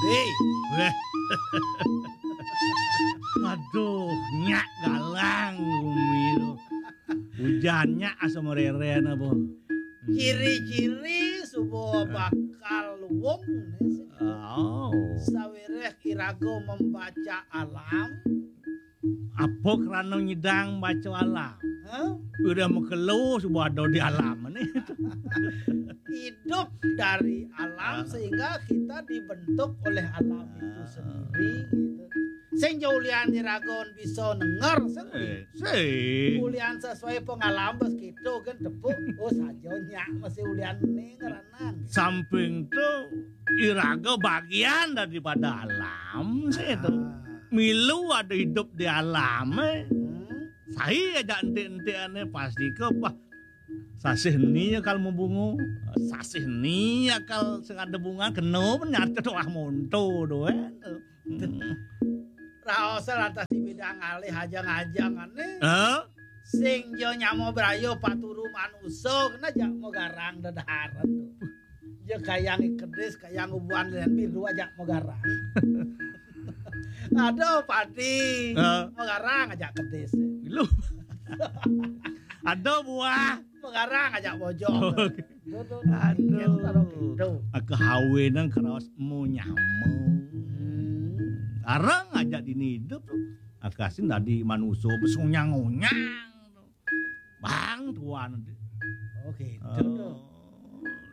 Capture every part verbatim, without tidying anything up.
Hei. Weh. Aduh, nyak galang bumi tu. Hujan nyak asa mareren apa. Ciri-ciri suba bakal luung ni. Oh. Sawiréh iraga membaca alam. Apa krana nyidang baca alam? Hah? Udah makelo suba ada di alam ni. Hidup dari alam. Ah. Sehingga kita dibentuk oleh alam itu sendiri gitu. Sing ja ulian iraga bisa nenger sing. Eh, sing. Ulian sesuai pengalaman bes gitu kan tepuk. Oh saja nyak masih ulian ni ngeranan. Samping tu iraga bagian daripada alam sih tu. Ah. Milu ada hidup di alam eh. Hmm. Sai aja entik-entik ane pasti ke bah. Sasih ni akal mabunga, sasih ni akal sing ada bunga kena pun nyata tu ah monto tu eh. Hmm. Raosa lantas di bidang alih ajang-ajang ane. Hah? Sing jo nyama brayo paturu manusa kena jak magarang dedaharan tu. Ya kayang kedis, kayang ubuan dan biru aja magarang. Ada padi, ha, magarang aja kedis. Lu. Ada buah, magarang aja bojong. Oke. Tuh, tuh, tuh. Aduh. Gitu, taruh gitu. Ah, kahawinan keraos mau nyama. Hmm. Arang aja dini hidup tuh. Akasin tadi manusia besunyang-unyang. Bang tuan. Oh, gitu tuh. Oh,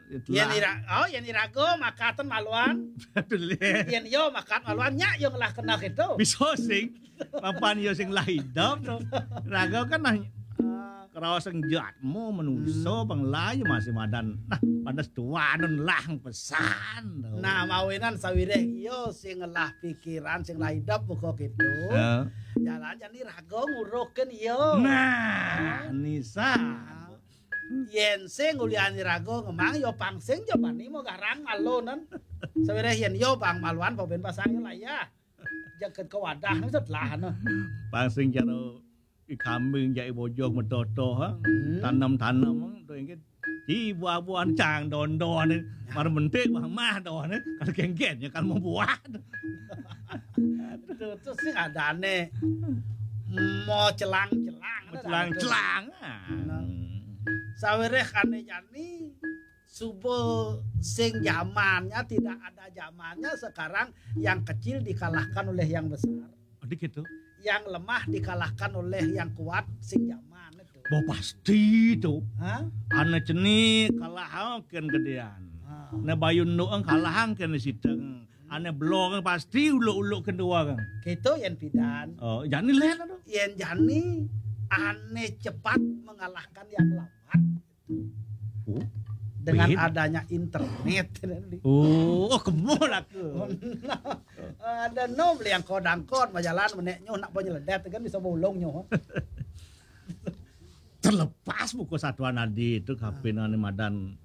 itulah. Yen ira, oh, yen iraga makatan maluan. Betul, ya. Yen yo makat maluan, nyak yo ngelah kena gitu. Bisa sing. Papan yo sing lah hidup tuh. Raga kan nah, ah, kerawa sing jatmu manusa, hmm, pengelah yo masih madan. Nah, pada setuanan lah pesan tuh. Nah, mawinan sawiréh yo sing ngelah pikiran, sing lah hidup buka gitu. Ya. Jalan jani raga nguruhkan yo. Nah, nisa. Nah. Yen sing ulian iraga ngemang ya pang sing ja bani magarang malunan. Sawiréh yen ya bang maluan pabén pasang ya layah. Jaket ke wadah ni setelah no. Pang sing jaro i kambing jai bojong metoto ha. Hmm. Tanem-tanem tu inggit. Di buah-buahan cang don-don ni. Mar mentik bah mah don ni. Kalau kengken ya kalau mau buah. Tuh, tuh sing adane. Mau celang-celang. Mau celang-celang. Nah. Sawiréh ane jani suba sing zamannya tidak ada zamannya, sekarang yang kecil dikalahkan oleh yang besar. Ada gitu. Yang lemah dikalahkan oleh yang kuat sing zaman itu. Bo pasti tu. Hah? Ane cenik kalah ken gedean. Ha. Ne bayun nuang kalah ken siteng. Ane belong pasti uluk-uluk kedua kan. Gitu yen pidan. Oh, jani len aduh. Yen jani ane cepat mengalahkan yang lambat. Oh. Dengan adanya internet. Oh, oh, kemul aku. Ada no beli yang kodangkon majalan menek nyu nak penyeledet kan bisa bolong nyu. Terlepas buku satuan adi itu kapin ane madan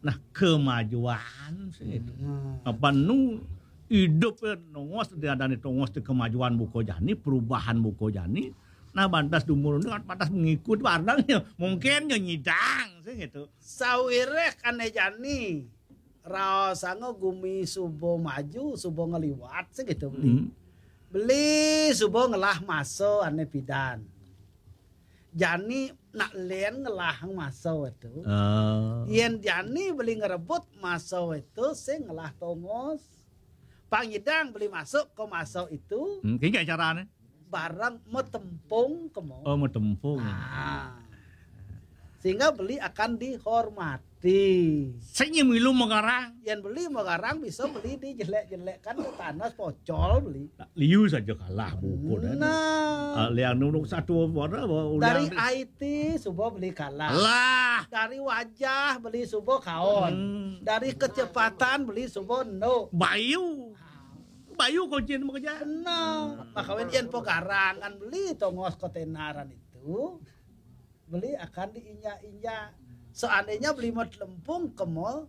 nah kemajuan sih itu. Hmm. Apa nu hidup ya nongos di ada nih tongos di kemajuan buku jani perubahan buku jani nah bantas dumur ini kan pantas mengikut barang ya mungkin ya nyidang sih gitu. Sawiréh ane jani raosanga gumi suba maju suba ngeliwat sih gitu beli. Hmm. Beli suba ngelah masa ane pidan. Jani nak len ngelah masa itu. Oh. Yen jani beli ngerebut masa itu sing ngelah tongos. Pangidang beli masuk ke masa itu. Hmm, kaya carane. Bareng metempung kemo. Oh, metempung. Ah. Sehingga beli akan dihormati. Sing milu magarang. Yen beli magarang bisa beli dijelek-jelekkan ke tanah pocol beli. Liu saja kalah buku dan. Nah. Ah, liang nunuk satu warna dari I T suba beli kalah. Lah. Dari wajah beli suba kaon. Hmm. Dari kecepatan beli suba endo. Bayu. Bayu kocin bekerja. Benar. Makawin yen pogarangan beli tongos kotenaran itu. Beli akan diinjak-injak. Seandainya beli mau lempung ke mall,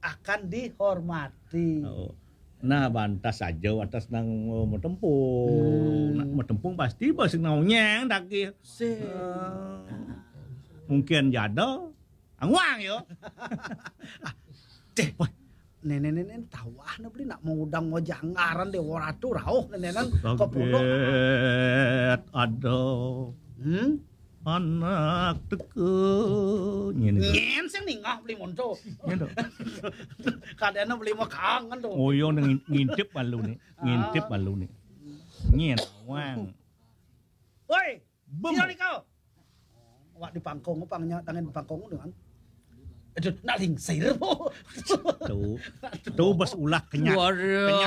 akan dihormati. Oh. Nah, bantas saja atas nang mau tempung. Hmm. Nak mau tempung pasti bos nang nyeng dagih. Si. Eh, mungkin jada. Anguang yo. Ah, ceh, boy. Néné-néné tawah né beli nak mau udang mau janggaran Déwa Ratu rauh nénénan ka pulo. Kaget ada. Hmm? Anak teka. Ngene. Nyén sing ningah beli monto. Ngene. Kadéna beli mah kangen to. Oh iya, ngin-, ngintip malu nih. Ngintip malu nih. Nyén wang. Woi, bem. Sira nika. Wak di pangkong, pangnya tangan di pangkong dengan. Aduh, nak lingsir po. Tuh. Tuh bas ulah kenyat. Waduh.